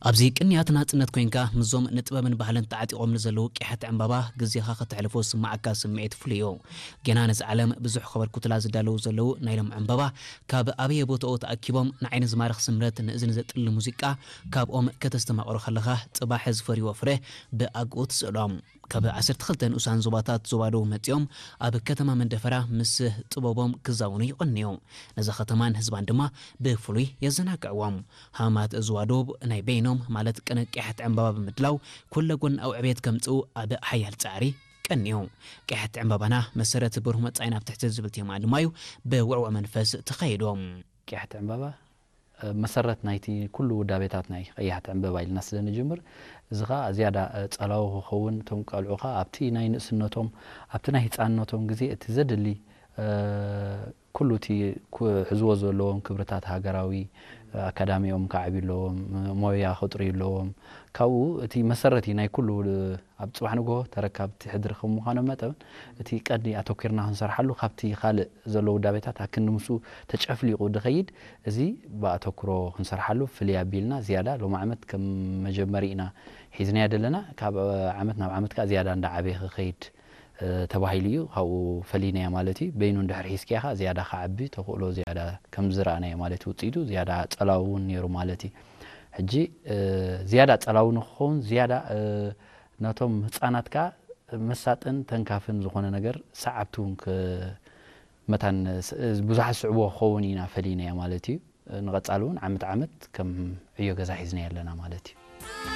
ኣብዚ ቅንያት ናጽነት ኮይንካ ምስዞም ንጥበብን ባህልን ተዓጢቖም ንዘለዉ ቅያሕቲ ዕምባባ ግዜኻ ከተሕልፎ ዝስምዓካ ስምዒት ፍሉይ እዩ። ጌና ነዚ ዓለም ብዙሕ ከበርኩትላ ዝዳለዉ ዘለዉ ናይ ሎም ዕምባባ ካብ ኣበየ ቦታኡ ተኣኪቦም ንዓይኒ ዝማርኽ ስምረት ንእዝኒ ዘጥሊ ሙዚቃ ካብኦም ከተስተማቕሮ ከለኻ ጽባሕ ዝፈርይዎ ፍረ ብኣግኡ ትስእሎ። ካብ ዓሰርተ ክልተ ንኡሳን ዞባታት ዞባ ደቡብ መጺኦም ኣብ ከተማ መንደፈራ ምስ ጥበቦም ክዛውኑ ይቐንዩ። ነዛ ከተማን ህዝባን ድማ ብፍሉይ የዘናግዕዎም። ሃማት ዞባ ደቡብ ናይ በይኖም ማለት ቅነ ቅያሕቲ ዕምባባ ብምድላው ኩለ ጎናዊ ዕቤት ከምጽኡ ኣብ ሓያል ጻዕሪ ቀንዩ። ቅያሕቲ ዕምባባና መሰረት ብሩህ መጻኢና ኣብ ትሕቲ ዝብል ቴማ ድማ እዩ ብውዕውዕ መንፈስ ተኻይዱ። ቅያሕቲ ዕምባባ መሰረት ናይቲ ኩሉ ውዳቤታት ናይ ቀያሕቲ ዕምበባ ኢልና ስለ ንጅምር፣ እዚ ኸኣ ዝያዳ ጸላዊ ክኸውን፣ እቶም ቀልዑ ኸኣ ኣብቲ ናይ ንእስነቶም ኣብቲ ናይ ህጻንነቶም ግዜ እቲ ዘድሊ ኩሉ እቲ ክሕዝዎ ዘለዎም ክብርታት ሃገራዊ ኣካዳሚኦም ከዓብዩ ኣለዎም፣ ሞያ ክጥርዩ ኣለዎም። ካብኡ እቲ መሰረት እዩ ናይ ኩሉ ኣብ ጽባሕ ንግሆ ተረካብቲ ሕድሪ ከም ምዃኖም መጠን እቲ ቀንዲ ኣተኪርና ክንሰርሓሉ ካብቲ ካልእ ዘሎ ውዳቤታት ኣክንዲ ምስኡ ተጨፍሊቑ ድኸይድ እዚ ብኣተኩሮ ክንሰርሓሉ ፍልይ ኣቢልና ዝያዳ ሎም ዓመት ከም መጀመሪ ኢና ሒዝናዮ ዘለና። ካብ ዓመት ናብ ዓመት ከኣ ዝያዳ እንዳዓበየ ክኸይድ ተባሂሉ እዩ። ካብኡ ፈሊናዮ ማለት እዩ። በይኑ እንድሕር ሒዝካዮ ከኣ ዝያዳ ክዓቢ ተኽእሎ ዝያዳ ከም ዝረኣናዮ ማለት እዩ። ውፅኢቱ ዝያዳ ጸላዊ እውን ነይሩ ማለት እዩ። ሕጂ ዝያዳ ጸላዊ ንክኸውን ዝያዳ ነቶም ህፃናት ከኣ መሳጥን ተንካፍን ዝኾነ ነገር ሰዓብቲ እውን መታን ብዙሓት ስዕቦ ክኸውን ኢና ፈሊናዮ ማለት እዩ። ንቐጻሊ እውን ዓመት ዓመት ከም ዕዮ ገዛ ሒዝናዮ ኣለና ማለት እዩ።